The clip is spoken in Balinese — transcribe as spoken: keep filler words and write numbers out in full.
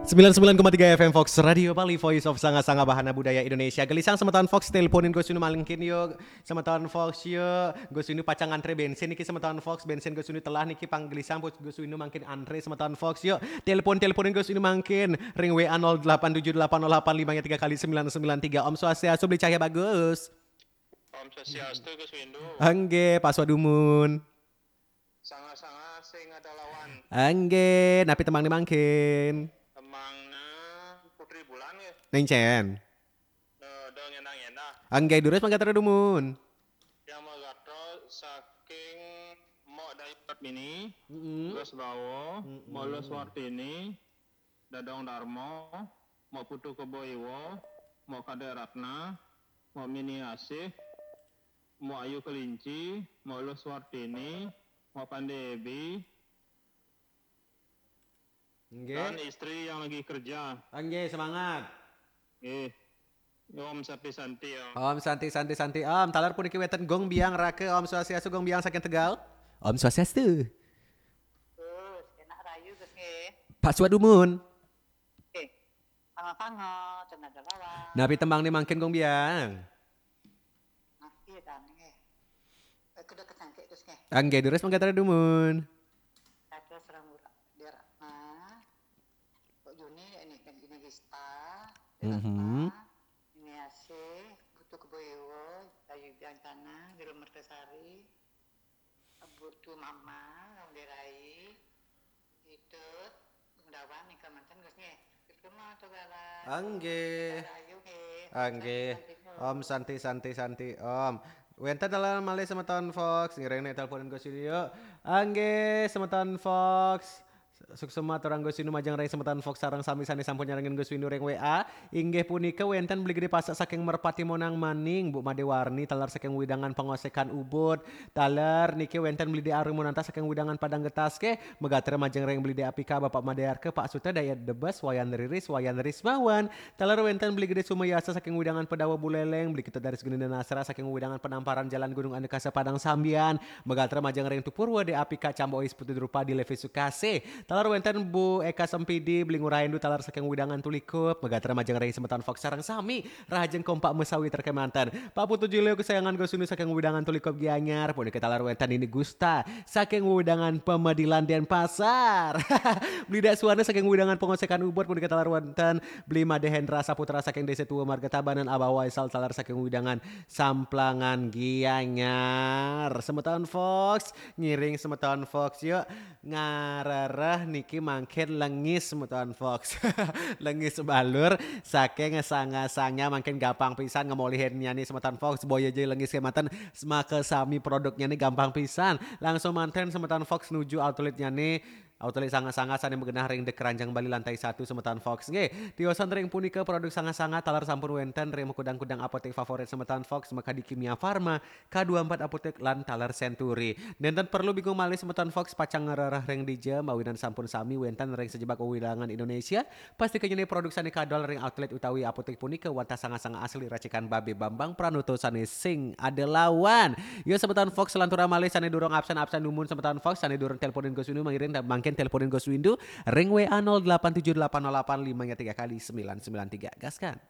Sembilan sembilan koma tiga F M Fox Radio Bali, Voice of Sanga-Sanga Bahana Budaya Indonesia. Gelisang semeton Fox, teleponin Gus Windu mangkin yo. Semeton Fox yo, Gus Windu pacang ngantre bensin niki semeton Fox, bensin Gus Windu telah niki pang gelisang, Gus Windu mangkin antre semeton Fox yo. Telepon-teleponin Gus Windu mangkin ring W A nol delapan tujuh delapan nol delapan lima tiga kali sembilan sembilan tiga. Om Swastiastu, Beli Cahya Bagus. Om Swastiastu, Gus Windu. Angge, Pak Swadumun. Sanga-sanga sing ada lawan. Angge, napi tembang ni mangkin? Tembangnya Putri Bulan ya. Neng Cen. Nah, dong enak-enak. Angge, durus mangga dumun. Yang magatra saking Mok Dayu Kartini, Mm-mm. Gus Bawo, Mm-mm. Mok Lus Wartini, Dadong Darmo, Mok Putu Kebo Iwo, Mok Kadek Ratna, Mok Mini Asih, Mok Ayu Kelinci, Mok Lus Wartini, Mok Pande Ebi, Nggih. Dan istri yang lagi kerja. Nggih, semangat. Nggih. Om Santi Santi ya. Om Santi Santi Santi Om. Taler puniki wenten Gong Biang Rake. Om Swastiastu, Gong Biang saking Tegal. Om Swastiastu. Terus enak rayu, Gus, nggih. Pak Swadumun. Oke. Sama-sama, cenah ada lawan. Napi tembang ni mangkin, Gong Biang? Nah, iya kan, nggih. Eh, kedeket sangke, Gus, nggih. Angge, durus mangga dumun. Ada serang murah. Dia Ratna. Kok Juni ya ini kan, ini Gista. Dia Mhm. Ratna. Ini Asih, Butuh Keboiwo, Ayu Biancana, Jero Mertasari. Butuh Mama, Ramderai. Idut, Bung Dawan, nika manten, Gus, nggih. Gus Gema, Tugala. Angge. Rayu, nggih. Angge. Santi, Santi, Om Santi, Santi, Santi, Om. Wenten dalam malih semeton Fox, ngiring nek teleponin Gus Windu. Angge, semeton Fox. Suksma aturang Gus Windu majeng ring semeton Fox sareng sami sane sampun nyarengin Gus Windu ring W A. Inggih punika wenten Beli Gede Pasak saking Merpati Monang Maning, Bu Made Warni, taler saking wewidangan Pengosekan Ubud. Taler niki wenten Beli De Arung Munanta saking wewidangan Padang Getas ke, megatra majeng ring Beli De Apika, Bapak Made Arke, Pak Suta, Dayat Debes, Wayan Riris, Wayan Rismawan. Taler wenten Beli Gede Sumayasa saking wewidangan Pedawa Buleleng, Beli Kita Daris Geni Nasra saking wewidangan Penamparan Jalan Gunung Andekasa Padang Sambian. Megatra majeng ring Tupurwa De Apika, Cambo Ois Putu Drupadi, Levi Sukase. Taler wenten Bu Eka Sempidi, Beli Ngurah Indu, taler saking wewidangan Tulikup. Megatra majeng ring semeton Fox sareng sami rahajeng kompak mesawi terkemanten. Pak Putu Julio kesayangan Gus Windu saking wewidangan Tulikup Gianyar, punika taler wenten Nini Gusta saking wewidangan Pemedilan Denpasar. Beli Dak Suwana saking wewidangan Pengosekan Ubud, punika taler wenten Beli Made Hendra Saputra saking Desa Tua Marga Tabanan, Abah Waisal taler saking wewidangan Samplangan Gianyar. Semeton Fox, ngiring semeton Fox yuk. Ngarereh niki mangkin lengis semeton Fox. Lengis balur saking sanga-sanga mangkin gampang pisan ngemolihinnya nih semeton Fox. Boya aja lengis kemanten, semaka sami produknya nih gampang pisan. Langsung manten semeton Fox nuju outletnya nih. Outlet sanga-sanga sane magenah ring De Keranjang Bali lantai satu semeton Fox. Nggih, tiosan ring punika produk sanga-sanga taler sampun wenten ring kudang-kudang apotek favorit semeton Fox, makadi Kimia Farma, K dua empat Apotek lan taler Century. Nenten perlu bingung malih semeton Fox pacang ngrereh ring dija, mawinan sampun sami wenten ring sajebak wewidangan Indonesia. Pastika nyeni produk sane kadol ring outlet utawi apotek punika wantah sanga-sanga asli racikan Babe Bambang Pranoto sane sing ada lawan. Yo semeton Fox, lanturang malih sane durung absen-absen dumun semeton Fox sane durung teleponin Gus Windu, mangiring mangkin teleponin Gus Windu ring W A nol delapan tujuh delapan nol delapan lima tiga kali sembilan sembilan tiga. Gaskan.